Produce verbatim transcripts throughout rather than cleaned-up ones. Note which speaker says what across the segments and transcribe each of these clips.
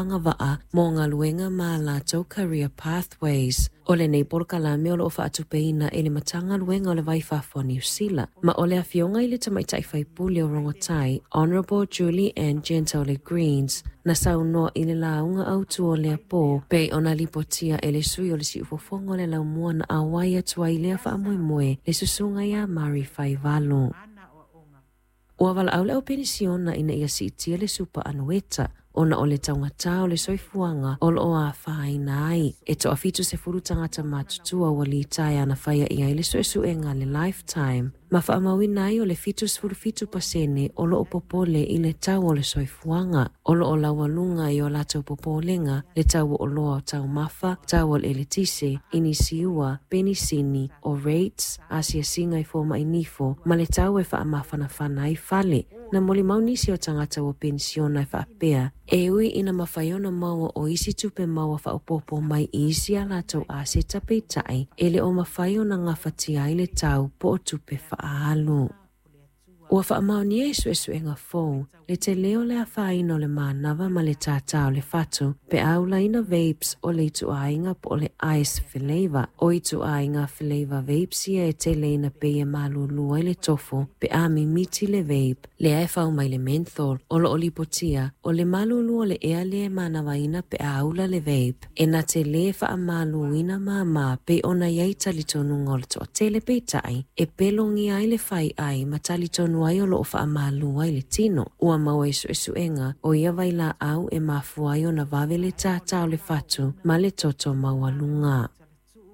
Speaker 1: Agavaa mo galuega ma a latou Career Pathways. O lenei polokalame o loo faatupeina e le Matagaluega o le Va i Fafo o Niu Sila, ma o le afioga i le tamaitai faipule o Rongotai, Honourable Julie Anne Genter o le Greens, na saunoa i le lauga autu o lea pō, pei ona lipotia e le sui o le Siufofoga o le Laumua na auai atu ai i lea faamoemoe, le susuga ia Mari Faivalo. Ua valaau le au penisiona ina ia siitia le supa anueta, ona o le taugata o le soifuaga o loo afaina ai. E toafitu sefulu tagata matutua ua litaea na faia i ai le suesuega a le Lifetime, ma faamauina ai o le fitu sefulu fitu pasene o loo popole i le tau o le soifuaga. O loo laualuga i o latou popolega le tau o oloa o taumafa, tau o le eletise, inisiua, penisini, o rates, asiasiga i fomai nifo, ma le tau e faamafanafana ai fale. Na molimau nisi o tagata ua penisiona e faapea, e ui ina mafai ona maua o isi tupe maua faaopoopo mai i isi a latou aseta, peitai e le o mafai ona gafatia ai le tau po o tupe faaalu. Ua faamaonia i suesuega fou le tele o le afaina o le manava ma le tātā o le fatu pe a ulaina vapes o le ituaiga po o le ice flavour. O ituaiga flavour vapes ia e tele ina pei e malulu ai le tofo pe a mimiti le vape, lea e fau mai le menthol. O loo lipotia o le malulu o le ea lea e manavaina pe a ula le vape e na te lē faamaluina māmā pei ona i ai talitonuga o le toatele, peitai e pelogia ai le fai ai ma talitonu ai o loo faamalu ai le tino. Ua maua i suesuega o ia vailaau e mafua ai ona vave le tātā o le fatu ma le toto maualuga.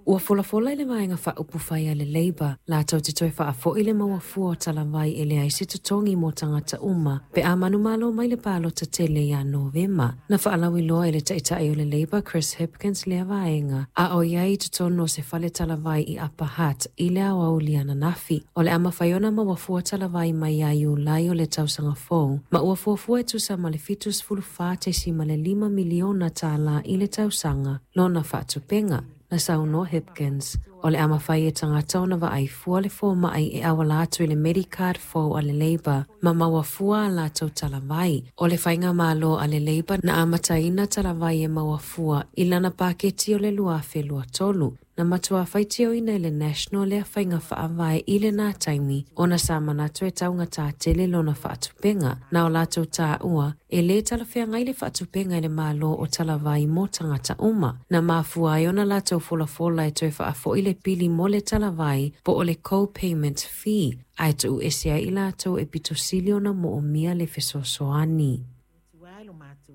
Speaker 1: Ua folafola i le vaega faaupufai a le Labour latou te toe faafoi le maua fua o talavai e leai se totogi mo tagata uma pe a manumalo mai le palota tele ia Novema. Na faalauiloa e le taitai o le Labour Chris Hipkins lea vaega a o iai i totonu o se fale talavai i Upper Hutt i le aoauli ananafi. O le a mafai ona maua fua talavai mai ia Iulai o le tausaga fou, ma ua fuafua e tusa ma le fitu sefulu fa tesima le lima miliona tālā i le tausaga lona faatupenga. Na saunoa Hipkins, o le a mafai e tagata ona vaai fua le fomai e auala atu i le Medicard fou a le Labour ma maua fua a latou talavai. O le faigamalo a le Labour na amataina talavai e maua fua i lana paketi o le lua afe lua tolu. Na matua faitioina e le National lea faiga faavae i lena taimi ona sa manatu e taugata tele lona faatupenga. Na o latou taua e lē talafeagai le faatupenga e le Malo o talavai mo tagata uma. Na mafua ai ona latou folafola e toe faafoi le pili mo le talavai po o le co-payment fee, ae tuu ese ai i latou e pitosili ona moomia le fesoasoani.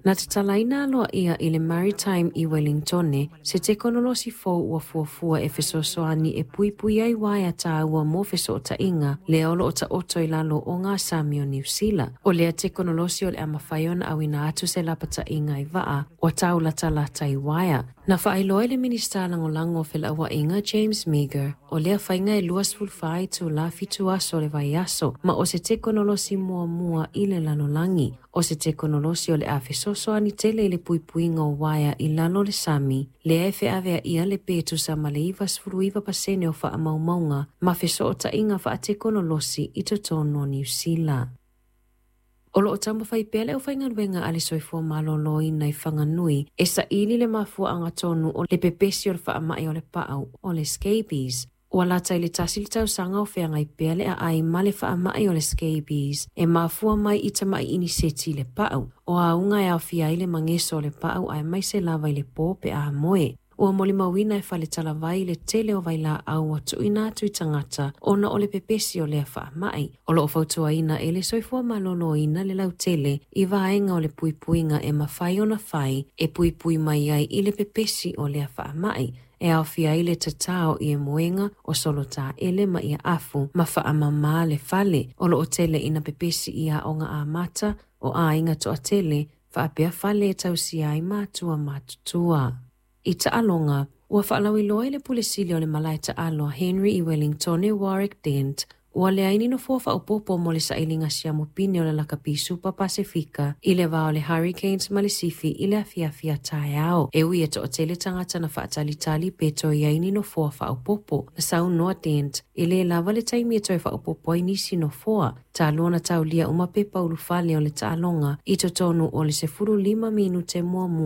Speaker 1: Na tatalaina aloaia i le Maritime i Wellingtone se tekonolosi fou ua fuafua e fesoasoani e puipui ai uaea taua mo fesootaiga lea o loo taoto i lalo o gasami o Niu Sila. O lea tekonolosi o le a mafai ona auina atu se lapataiga i vaa ua taulatalata i uaea. Na faailoa e le Minisita Lagolago o Felauaiga James Meager, o lea faiga e luasefulu fa itulā fitu aso o le vaiaso, ma o se tekonolosi muamua i le lalolagi. O se tekonolosi o le a fesoasoani tele i le puipuiga o uaea i lalo o le sami, lea e feaveaia le pe tusa ma le iva sefulu iva pasene o faamaumauga ma fesootaiga faatekonolosi i totonu o Niu Sila. O loo taumafai pea le aufaigaluega a le Soifua Maloloina i Whanganui e saili le mafuaaga tonu o le pepesi o le faamai o le paau o le scabies. Ua lata i le tasi le tausaga o feagai pea le aai ma le faamai o le scabies e mafua mai i tamai iniseti le paau. O auga e aofia ai le mageso o le paau aemaise lava i le pō pe a moe. Ua molimauina e fale talavai le tele o vailaau ua tuuina atu i tagata ona o le pepesi o lea faamai. O loo fautuaina e le Soifua Maloloina le lautele i vaega o le puipuiga e mafai ona fai e puipui mai ai i le pepesi o lea faamai, e aofia ai le tatao i moega o solotaele ma ia afu ma faamamā le fale. O loo tele ina pepesi i aoga amata o aiga toatele faapea fale e tausia ai matua matutua. I taaloga, ua faalauiloa i le pule sili o le malae taalo a Henry i Wellingtone Warwick Dent, ua leai ni nofoa faaopoopo mo le sailiga siamu pine o le Lakapi Supa Pasefika i le va o le Hurricanes ma le Sifi i le afiafi a taeao, e ui e toatele tagata na faatalitali pe toe i ai ni nofoa faaopoopo. Na saunoa Dent, e lē lava le taimi e toe faaopoopo ai nisi nofoa talu ona taulia uma pepa ulufale o le taaloga i totonu o le sefulu lima minute muamua.